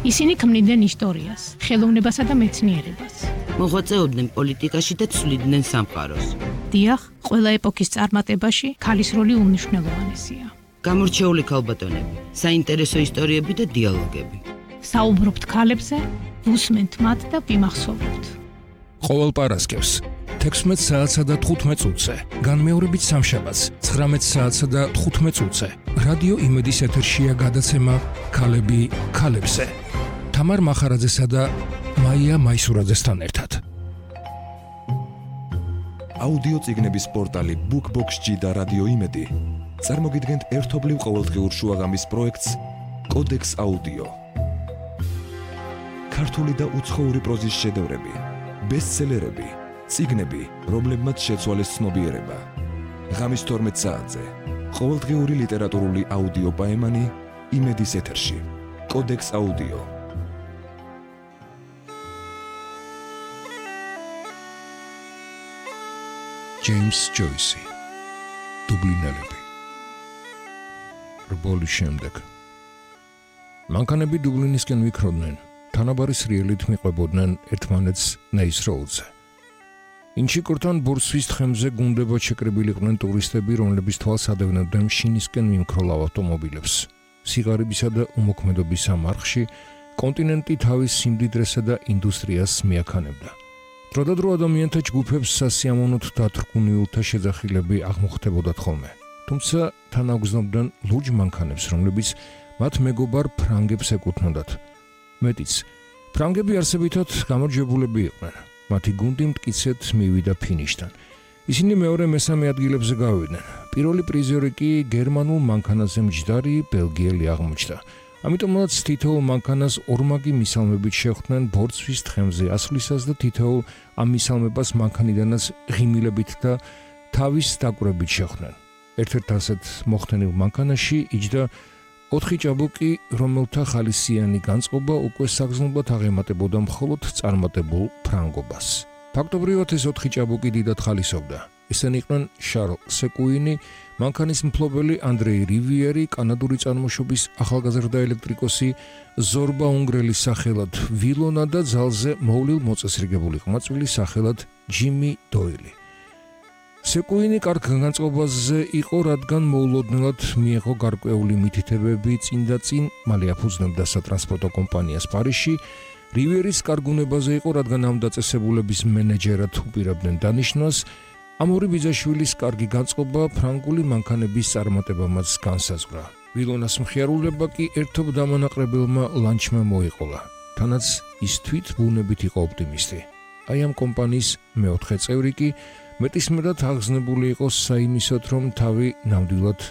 ისინი ქმნიდნენ ისტორიას, ხელოვნებასა და მეცნიერებას. მოღვაწეობდნენ პოლიტიკაში და ცვლიდნენ სამყაროს. დიახ, ყველა ეპოქის წარმატებაში ქალის როლი უმნიშვნელოვანესია. გამორჩეული ქალბატონები, საინტერესო ისტორიები და დიალოგები. საუბრობთ ქალებზე, ვუსმენთ მათ და ვიმახსოვრებთ. ყოველ პარასკევს 16 საათსა და 15 წუთზე, განმეორებით სამშაბათს 19 საათსა და 15 წუთზე. რადიო იმედის ეთერშია გადაცემა ქალები ქალებზე. თამარ მახარაძესა და მაია მაისურაძესთან ერთად. აუდიო წიგნების პორტალი BookBox-G და რადიო იმედი წარმოგიდგენთ ერთობლივ ყოველდღიურ შუაღამის პროექტს კოდექს აუდიო. ქართული და უცხოური პროზის შედევრები, ბესტსელერები, წიგნები, რომლებმაც შეცვალეს ცნობიერება. ღამის 12 საათზე ყოველდღიური ლიტერატურული აუდიო პაემანი იმედის ეთერში. კოდექს აუდიო. ჯეიმს ჯოისი. დუბლინელები. რბოლის შემდეგ. მანქანები დუბლინისკენ ვიქროდნენ. თანაბარი სრიელით მიყვებოდნენ ერთმანეთს ნეის როუდზე. ინჩიკორთან ბორცვის თხემზე გუნდებად შეკრებილიყვნენ ტურისტები, რომლებიც თვალს ადევნებდნენ შინისკენ მიმქროლავ ავტომობილებს. სიგარებისა და უმოქმედობის ამ არხში კონტინენტი თავის სიმდიდრესა და ინდუსტრიას მიაქანებდა. დროდადრო ადამიანთა ჯგუფებს სასიამოვნოდ დათრგუნიულთა შეძახილები აღმოხდებოდათ ხოლმე. თუმცა თან აგრძნობდნენ ლურჯ მანქანებს, რომლებიც მათ მეგობარ ფრანგებს ეკუთვნოდათ. მეტიც, ფრანგები არსებითად გამარჯვებულები იყვნენ. მათი გუნდი მტკიცედ მივიდა ფინიშთან. ისინი მეორე-მესამე ადგილებზე გავიდნენ. პირველი პრიზიორი კი გერმანულ მანქანაზე მჯდარი ბელგიელი აღმოჩნდა. ამიტომაც თითოეულ მანქანას ორმაგი მისალმებით შეხვდნენ ბორცვის თხემზე ასვლისას და თითოეულ ამ მისალმებას მანქანიდანაც ღიმილებით და თავის დაკვირვებით შეხვდნენ. ერთ-ერთ ასეთ მოხდენილ მანქანაში იჯდა 4 ჭაბუკი, რომელთა ხალისიანი განწყობა უკვე საგრძნობლად აღემატებოდა მხოლოდ წარმატებულ ფრანგობას. ფაქტობრივად ეს 4 ჭაბუკი დიდად ხალისობდა. ესენი იყვნენ შარლ სეკუინი, მანქანის მფლობელი ანდრეი რივიერი, კანადური წარმოშობის ახალგაზრდა ელექტრიკოსი ზორბა უნგრელის სახელად ვილონა და ძალზე მოვლილ მოწესრიგებული ყმაწვილი სახელად ჯიმი დოილი. სეკუინი კარგ განწყობაზე იყო, რადგან მოულოდნელად მიიღო გარკვეული მითითებები წინ მალე აფუძნებდა სატრანსპორტო კომპანიას პარიზში. რივიერის კარგუნებაზე იყო, რადგან ამ დაწესებულების მენეჯერად უპირებდნენ დანიშნვას. ამ ორი ბიძაშვილის კარგი განწყობა ფრანგული მანქანების წარმატებამაც განსაზღვრა. ვილონას მხიარულება კი ერთობ დამანაყრებელმა ლანჩმა მოიყოლა. თანაც ის თვით ბუნებით იყო ოპტიმისტი. აი ამ კომპანიის მეოთხე წევრი კი მეტისმეტად აღგზნებული იყო საიმისოდ, რომ თავი ნამდვილად